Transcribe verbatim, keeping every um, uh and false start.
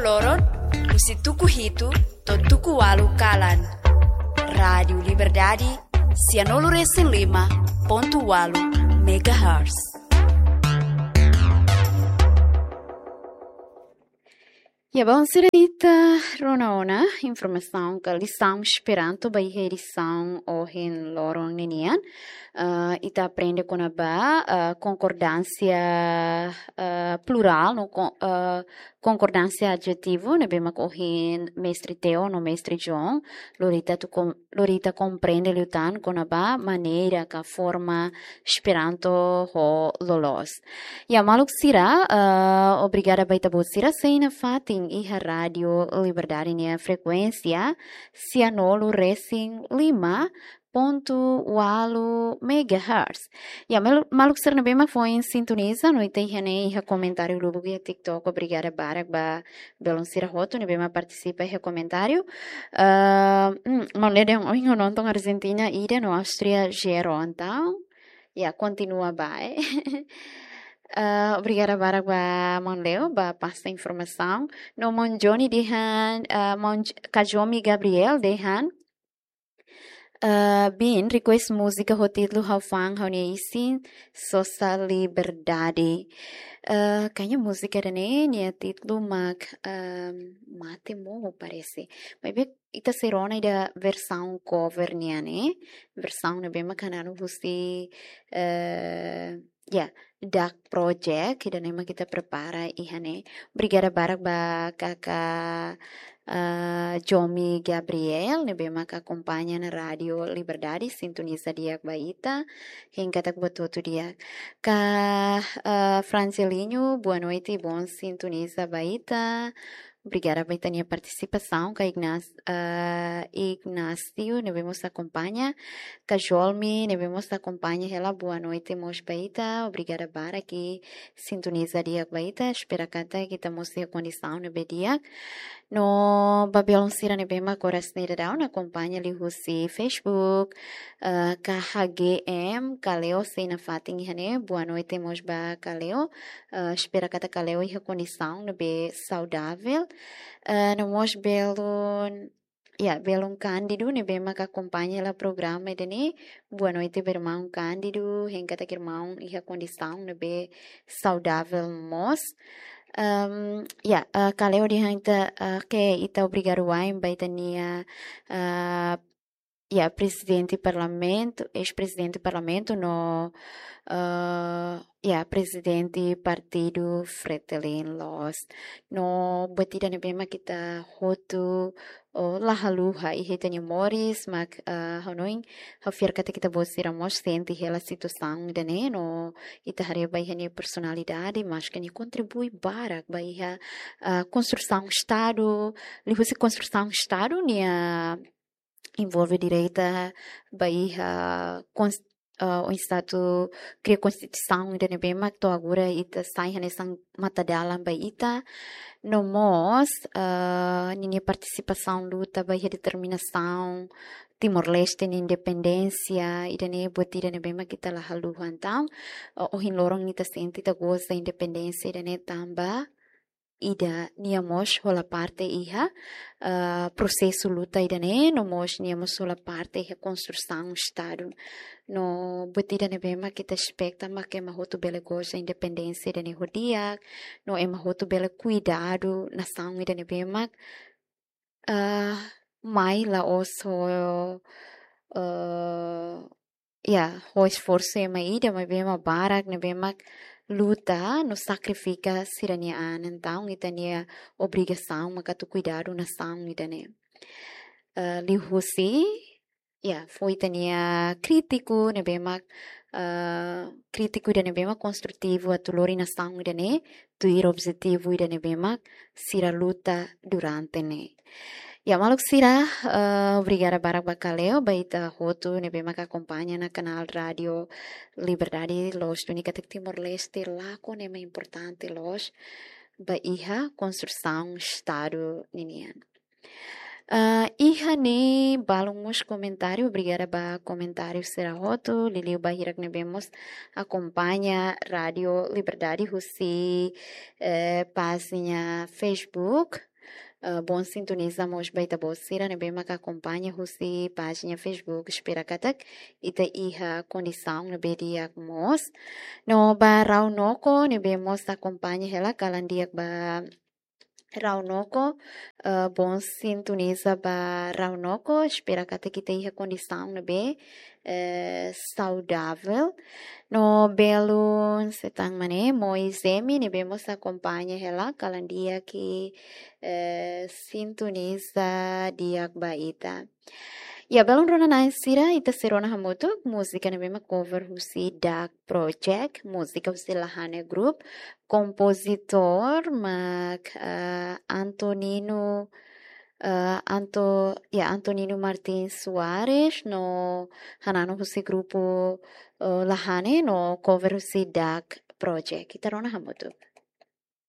Loron, husi tuku hitu to'o tuku ualu kalan. Rádiu Liberdade, sianulu resin lima pontu ualu megahertz. Ya, bom, sira ita rona ona informasaun ka lisaun Esperanto ba iha edisaun ohin loron ninian. Ah, ita aprende kona-ba, ah, konkordánsia, ah, plurál, no kon-, ah, konkordánsia adjetivu, ne'ebé mak ohin mestre Theo no mestre John lori ita atu kom-, lori ita komprende liután kona-ba maneira ka forma Esperanto ho loloos. Ya, maluk sira, ah, obrigada ba ita-boot sira sei nafatin iha Rádiu Liberdade nia frekuénsia sianulu resin lima pontu ualu megahertz. Ya, mel-, maluk sira ne'ebé mak foin sintoniza, no ita iha ne'e iha komentáriu lubuk iha TikTok, obrigada barak ba belun sira hotu ne'ebé mak partisipa iha komentáriu. Ah, hmm, maun Leo dehan ohin ho nonton Argentina ida no Áustria zero, entaun, ya, kontinua bae. Ah, obrigada barak ba maun Leo, ba pasta informasaun. No maun Johnny dehan, ah, maun J-, Kajomi Gabriel dehan, ah, bin, request múzika ho títulu Ha'u Fa'an Ha'u-nia Isin, Sosa Liberdade. Ah, kayaknya múzika ida-ne'e nia títulu mak, ehm, Mate Morro, parese. Maibé ita sei rona ida versaun cover nian ne'e. Versaun ne'ebé mak hananu husi, eh, ya, Dark Project, ida-ne'e mak ita prepara iha ne'e. Obrigada barak ba kaka, eh, Jomi Gabriel, ne'ebé mak akompaña ona Rádiu Liberdade, sintoniza di'ak ba ita. Hein katak buat hotu di'ak. Ka, eh, Francelinho, boa noite, bom sintoniza ba ita. Obrigada ba ita-nia partisipasaun, ka Ignas-, eh, Ignácio, ne'ebé mós akompaña, ka Jolmi, ne'ebé mós akompaña hela, boa noite mós ba ita, obrigada barak, sintoniza di'ak ba ita, espera katak ita mós iha kondisaun ne'ebé di'ak. No ba belun sira ne'ebé mak oras ne'e daudaun akompaña liuhusi Facebook, eh, ka H G M, Kaleo sei nafatin iha ne'e, boa noite mós ba Kaleo, eh, espera katak Kaleo iha kondisaun ne'ebé saudavel. Eh, no mós belun, ya, belun Cândido, ne'ebé mak akompaña hela programa ida-ne'e. Boa noite ba irmaun Cândido, hein katak irmaun iha kondisaun ne'ebé saudavel mós. Ehm, ya, eh, Kaleo dehan ita, eh, ke ita obrigadu wa'in ba ita-nia, eh, ya, prezidente parlamentu, eis-prezidente parlamentu no, eh, ya, prezidente partidu Fretilin loos. No buat ida ne'ebé mak ita hotu, oh, la haluha iha ita-nia moris, mak, eh, hanoin, ha'u fiar katak ita-boot sira mós sente hela situasaun ida-ne'e, no ita haree ba iha nia personalidade, maske nia kontribui barak ba iha, eh, konstrusaun Estadu, liuhusi konstrusaun Estadu, nia envolve direta ba iha kons-, eh, oinsá atu kria konstituisaun ida ne'ebé mak to'o agora ita sai hanesan matadalan ba ita. No mós, eh, ninia partisipasaun luta ba iha determinasaun Timor-Leste nia independénsia, ida-ne'e buat ida ne'ebé mak ita la haluha entaun. Eh, ohin loron ita sente, ita goza independénsia ida-ne'e tanba ida nia mós hola parte iha, eh, prosesu luta ida-ne'e, no mós nia mós hola parte iha konstrusaun Estadu. No buat ida ne'ebé mak ita espeta mak ema hotu bele goza independénsia ida-ne'e ho di'ak, no ema hotu bele kuidadu nasaun ida ne'ebé mak, eh, mai la'ós ho, eh, ya, ho esforsu ema ida, maibé ema barak ne'ebé mak luta no sakrifika sira-nia an, entaun ita-nia obrigasaun mak atu kuidadu nasaun ida-ne'e. Eh, liuhusi, ya, fó ita-nia krítiku ne'ebé mak, eh, krítiku ida ne'ebé mak konstrutivu atu lori nasaun ida-ne'e tuir objetivu ida ne'ebé mak sira luta durante ne'e. Ya, maluk sira, eh, obrigada barak ba Kaleo, ba ita hotu ne'ebé mak akompaña ona kanál Rádiu Liberdade loos, duni katak Timor-Leste lakon ema importante loos ba iha konstrusaun Estadu ninian. Eh, iha ne'e balun mós komentáriu, obrigada ba komentáriu sira hotu, liuliu ba hirak ne'ebé mós akompaña Rádiu Liberdade husi, eh, pájina Facebook. eh, bom sintoniza mós ba ita-boot sira ne'ebé maka akompaña husi pájina Facebook, espera katak ita iha kondisaun ne'ebé di'ak mós. No ba Raunoko ne'ebé mós akompaña hela, kalan di'ak ba Raunoko, eh, bom sintoniza ba Raunoko, espera katak ita iha kondisaun ne'ebé, eh, saudavel. No belun sei tan mane, Moizemi ne'ebé mós akompaña hela, kalan di'ak, eh, sintoniza di'ak ba ita. Ya, belun rona-na'in sira, ita sei rona hamutuk múzika ne'ebé mak cover husi Dak Project, múzika husi Lahane Group, kompozitór mak, eh, Antonino, eh, Anto-, ya, Antonino Martins Soares, no hananu husi grupu, eh, Lahane, no cover husi Dak Project. Ita rona hamutuk.